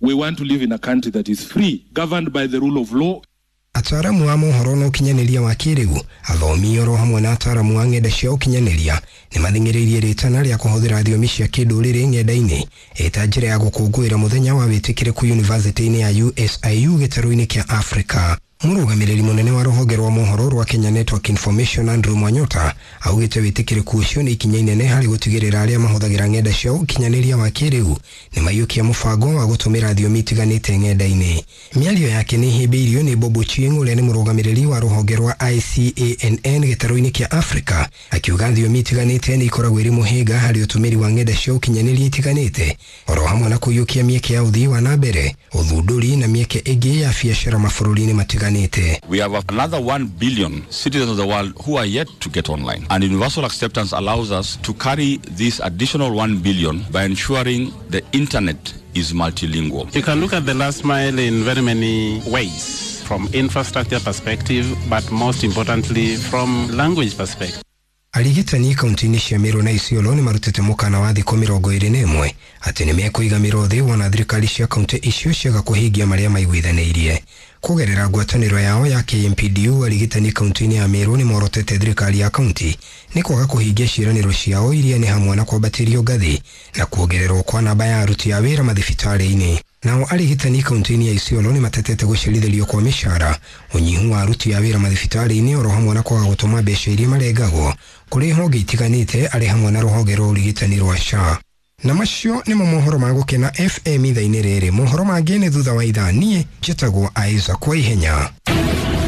We want to live in a country that is free, governed by the rule of law. Ataaramu a mohoro na ũkinyanĩria wa kĩrĩu, athomi oro hamwe na ataaramu a ng'enda cia ũkinyanĩria nĩ mathing'ĩrĩirie rĩtana rĩa kũhũthĩra thiomi cia kĩndũrĩrĩ ng'enda-inĩ ĩta njĩra ya gũkũngũĩra mũthenya wa wĩtĩkĩrĩku yunivasĩtĩ-inĩ ya USIU gĩtarũ-inĩ kĩa Afrika. Mũrũgamĩrĩri mũnene wa rũhonge rwa mohoro rwa Kenya Network Information Andrew Mwanyota augĩte wĩtĩkĩrĩku ũcio nĩ ikinya inene harĩ gũtigĩrĩra arĩa mahũthagĩra ng'enda cia ũkinyanĩria wa kĩrĩu nĩ maiyũkia mũbango wa gũtũmĩra thiomi itiganĩte ng'enda-inĩ. Mĩario yake nĩ ĩhĩmbĩirio nĩ Bob Ochieng ũrĩa nĩ mũrũgamĩrĩri wa rũhonge rwa ICANN gĩtarũ-inĩ kĩa Afrika, akiuga thiomi itiganĩte nĩ ikoragwo irĩ mũhĩnga harĩ ũtũmĩri wa ng'enda cia ũkinyanĩria itiganĩte oro hamwe na kũiyũkia mĩeke ya ũthii wa na mbere, ũthundũri na mĩeke ĩngĩ ya biacara mabũrũri-inĩ matiganĩte. We have another 1 billion citizens of the world who are yet to get online. And universal acceptance allows us to carry this additional 1 billion by ensuring the internet is multilingual. You can look at the last mile in very many ways, from infrastructure perspective, but most importantly, from language perspective. Arigitani kaunti-inĩ cia Meru na Isiolo nĩ marutĩte mũkana wa thikũ 21 atĩ nĩ mekũiga mĩro thĩ wona thirikari cia kaunti icio ciaga kũhingia marĩa maiguithanĩirie. Kũgerera ngwatanĩro yao ya KMPDU, arigitani kaunti-inĩ ya Meru nĩ morotete thirikari ya kaunti nĩ kwaga kũhingia ciĩranĩro ciao iria nĩ hamwe na kwambatĩrio ngathĩ na kuongererwo kwa namba ya aruti a wĩra mathibitarĩ-inĩ. Nao arigitani kaunti-inĩ ya Isiolo nĩ matetete gũcerithĩrio kwa mĩcara, ũnyihu wa aruti a wĩra mathibitarĩ-inĩ oro hamwe na kwaga gũtũma mbeca iria marengagwo kũrĩ honge itiganĩte arĩ hamwe na rũhonge rwa ũrigitani rwa SHA. Na macio nĩmo mohoro ma Gũkena FM ithaa-inĩ rĩrĩ. Mohoro mangĩ nĩ thutha wa ithaa. Niĩ njĩtagwo Isaac kwa ihenya.